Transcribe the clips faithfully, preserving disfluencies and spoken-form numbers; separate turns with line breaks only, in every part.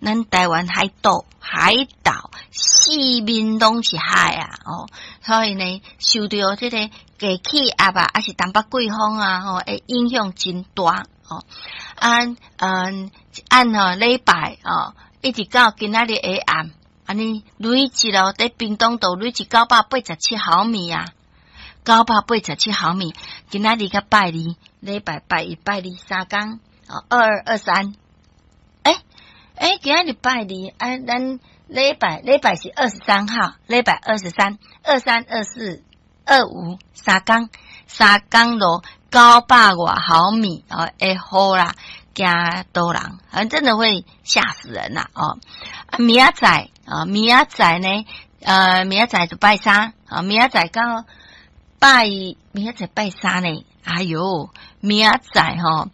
咱台灣海島，海島四面攏是海啊！哦，所以呢，受著這個低氣壓啊，抑是東北季風啊，吼，會影響真大哦。按嗯按吼禮拜哦，一直到今仔日下暗，按呢累積咯，佇屏東都累積九百八十七毫米啊，九百八十七毫米。今仔日佮拜二，禮拜拜一、拜二三工，哦，二二二三。欸欸，今仔日拜二，啊，咱禮拜禮拜是二十三號，禮拜二十三、二三、二四、二五三工，三工落九百外毫米哦，會雨啦，驚倒人，反正真的會嚇死人啦哦。啊，明仔載啊，明仔載呢？呃，明仔載就拜三啊，明仔載到拜明仔載拜三呢？哎喲，明仔載吼，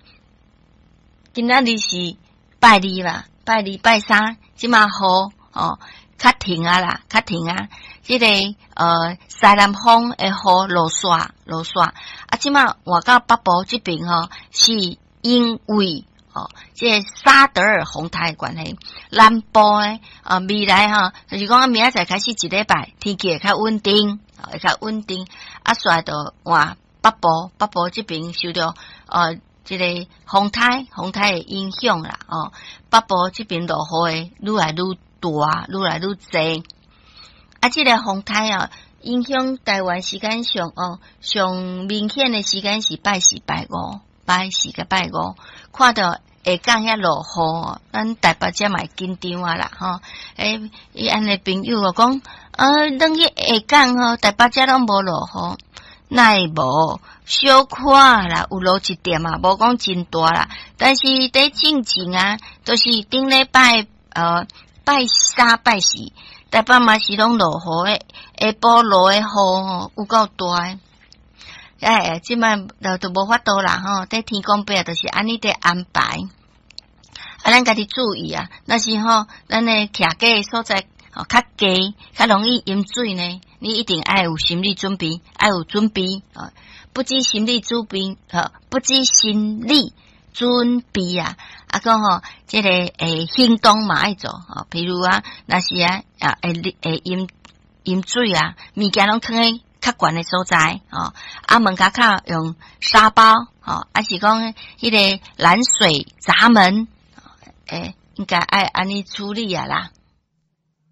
今仔日是拜二啦。拜二拜三，這馬雨哦，較停啊啦，較停啊。這個呃西南風的雨落煞落煞啊，這馬換到北部這邊吼，是因為哦，這個沙德爾風颱的關係，南部的啊未來吼，就是講明仔載開始一禮拜天氣會較穩定，會較穩定。啊，煞就換北部，北部這邊受著呃。這個風颱，風颱的影響啦，哦，北部這邊落雨會愈來愈大，愈來愈濟。啊，這個風颱啊，影響台灣時間上哦，上明顯的時間是拜四、拜五，拜四佮拜五，看著下港遐落雨，咱台北這嘛會緊張啊啦，吼。欸，伊按呢朋友哦講，啊，轉去下港吼，台北這攏無落雨。哪會無？小可啦，有落一點啊，無講真大啦。但是佇進前啊，就是頂禮拜呃拜三拜四，台北嘛是攏落雨的，下晡落的雨吼有夠大的。哎，這擺就都無法度啦吼，佇天公伯就是按呢佇安排。啊，咱家己注意啊，若是吼，咱的徛家所在吼較低，較容易淹水呢。你一定愛有心理準備，愛有準備啊！不止心理準備，吼，不止心理準備啊！啊，閣吼，這個會行動嘛愛做吼，譬如啊，若是啊啊會會淹淹水啊，物件攏囥佇較懸的所在，吼，啊門跤口用沙包，吼，抑是講彼個攔水閘門，欸，應該愛按呢處理啊啦。